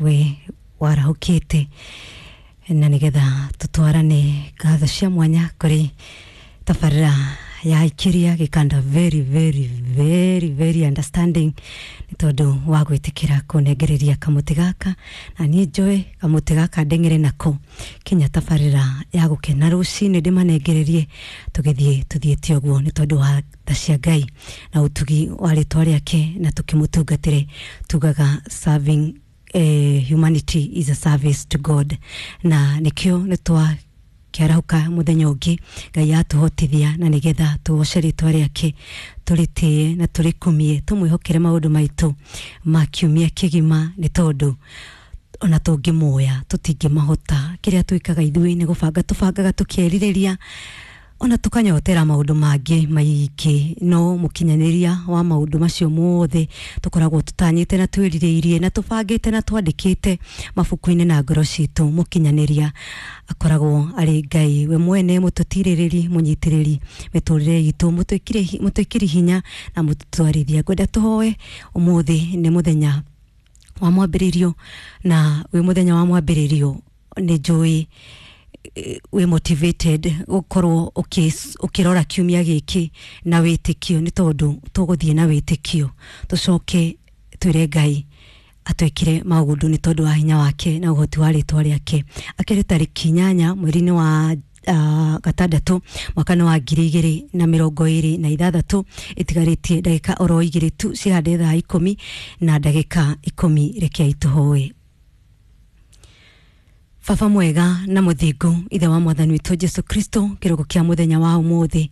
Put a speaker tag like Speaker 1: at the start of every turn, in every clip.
Speaker 1: We warahũkĩte na nĩgetha tũtwarane ngatho cia mwanya kũrĩ tabarĩra ya ikiria gĩkanda very very very very understanding nĩ tondũ wa gwĩtĩkĩra kũnengereria kamũtĩ gaka na niĩ njoe kamũtĩ gaka ndeng'ere nako kinya tabarĩra ya gũkena rũcinĩ ndĩmanengererie tũgĩthiĩ tũthiĩte ũguo nĩ tondũ wa tha cia Ngai na ũtugi wa rĩtwa rĩake na tũkĩmũtungatĩre tugaga serving humanity is a service to God na nĩkĩo nĩ twa kĩarahũka mũthenya ũngĩ Ngai atũhotithia na nĩgetha tũgoce rĩtwa rĩake tũrĩtĩe na tũrĩkumie tũmwĩhokere maũndũ maitũ ma kiumia kĩgima nĩ tondũ ona tũngĩmoya tũtingĩmahota. Kĩrĩa twĩkaga ithuĩ nĩ gũbanga tũbangaga tũkĩerirĩria ona tukanyotera maũndũ mangĩ maingĩ no mũkinyanĩria wa maũndũ macio mothe tũkoragwo tũtanyĩte na twĩrirĩirie na tũbangĩte na twandĩkĩte mabuku-inĩ na ngoro citũ mũkinyanĩria akoragwo arĩ Ngai we mwene mũtũtirĩrĩri mũnyitĩrĩri mĩtũrĩre itũ mũtwĩkĩri hinya na mũtũtwarithia. Ngwenda tũhoe ũmũthĩ nĩ mũthenya wa mwambĩrĩrio na wĩ mũthenya wa mwambĩrĩrio nĩ njũĩ wĩ motivated gũkorwo ũkĩrora kiumia gĩkĩ na wĩtĩkio nĩ tondũ tũgũthiĩ na wĩtĩkio tũcoke twĩre Ngai atwĩkire maũndũ nĩ tondũ wa hinya wake na ũhoti wa rĩtwa rĩake. Akĩrĩ tarĩki 8 mweri-inĩ wa gatandatũ mwaka-inĩ wa 2026 ĩtigarĩtie ndagĩka oro 2 tu cihande thaa 10 na ndagĩka 10. Rekei tũhoe. Baba mwega na mũthingu ithe wa mwathani witũ Jesu Kristo kĩroko kĩa mũthenya wa ũmũthĩ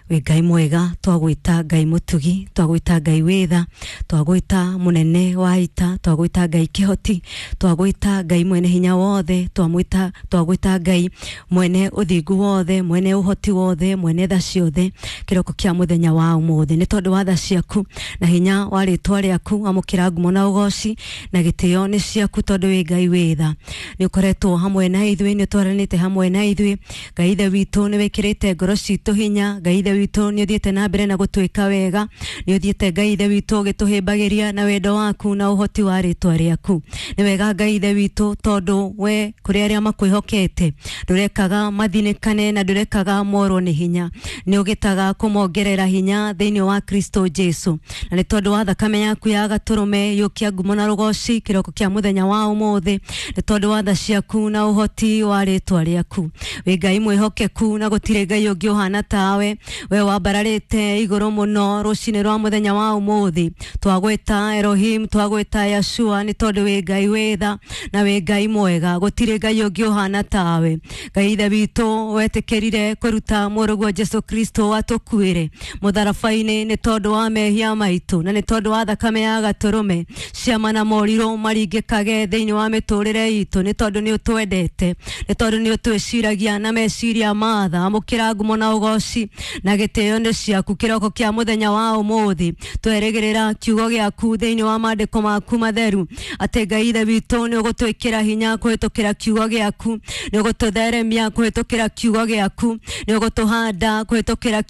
Speaker 1: wĩ Ngai mwega twagwĩta Ngai mũtugi twagwĩta Ngai wĩtha twagwĩta mũnene wa ita twagwĩta Ngai kĩhoti twagwĩta Ngai mwene hinya wothe twagwĩta Ngai mwene ũthingu wothe mwene ũhoti wothe mwene tha ciothe kĩroko kĩa mũthenya wa ũmũthĩ nĩ tondũ wa tha ciaku na hinya wa rĩtwa rĩaku amũkĩra ngumo na ũgoci na gĩtĩo nĩ ciaku tondũ wĩ Ngai wĩtha nĩ ũkoretwo hamwe na ithuĩ nĩ ũtwaranĩte hamwe na ithuĩ Ngai ithe witũ nĩ wĩkĩrĩte ngoro citũ hinya Ngai ithe witũ nĩ ũthiĩte na mbere na gũtwĩka wega nĩ ũthiĩte Ngai ithe witũ ũgĩtũhĩmbagĩria na wendo waku na ũhoti wa rĩtwa rĩaku nĩ wega Ngai ithe witũ tondũ we kũrĩ arĩa makwĩhokete ndũrekaga mathinĩkane na ndũrekaga morwo nĩ hinya nĩ ũgĩtaga kũmongerera hinya thĩinĩ wa Kristo Jesu na nĩ tondũ wa thakame yaku ya gatũrũme yũkia ngumo na rũgoci kĩroko kĩa mũthenya wa ũmũthĩ nĩ tondũ wa tha ciaku na ũhoti wa rĩtwa rĩaku wĩ Ngai mwĩhokeku na gũtirĩ Ngai ũngĩ ũhana tawe we wambararĩte igũrũ mũno rũcinĩ rwa mũthenya wa ũmũthĩ twagwĩta Elohim twagwĩta Yeshua nĩ tondũ wĩ Ngai wĩtha na wĩ Ngai mwega gũtirĩ Ngai ũngĩ ũhana tawe Ngai ithe witũ wetĩkĩrire kũruta mũrũguo Jesu Kristo atũkuĩre mũtharaba-inĩ nĩ tondũ wa mehia maitũ na nĩ tondũ wa thakame ya gatũrũme ciama na morirũ maringĩkage thĩinĩ wa mĩtũrĩre itũ nĩ tondũ nĩ ũtwendete nĩ tondũ nĩ ũtwĩciragia na meciria ma tha amũkĩra ngumo na ũgoci na gĩtĩo nĩ ciaku kĩroko kĩa mũthenya wa ũmũthĩ twerĩgĩrĩra kiugo gĩaku thĩinĩ wa maandĩko maku matheru atĩ Ngai ithe witũ nĩ ũgũtwĩkĩra hinya kũhĩtũkĩra kiugo gĩaku nĩ ũgũtũtheremia kũhĩtũkĩra kiugo gĩaku nĩ ũgũtũhanda kũhĩtũkĩra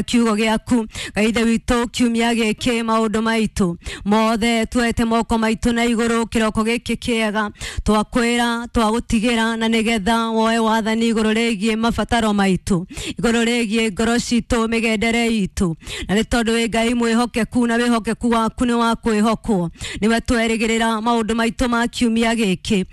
Speaker 1: kiugo gĩaku Ngai ithe witũ kiumia gĩkĩ maũndũ maitũ mothe tuoete moko maitũ na igũrũ kĩroko gĩkĩ kĩega twakwĩra twagũtigĩra na nĩgetha woe wathani igũrũ rĩgiĩ mabataro maitũ igũrũ rĩgiĩ ngoro citũ mĩgendere itũ na nĩ tondũ wĩ Ngai mwĩhokeku na wĩhokeku waku nĩ wa kwĩhokwo nĩwe twerĩgĩrĩra maũndũ maitũ ma kiumia gĩkĩ.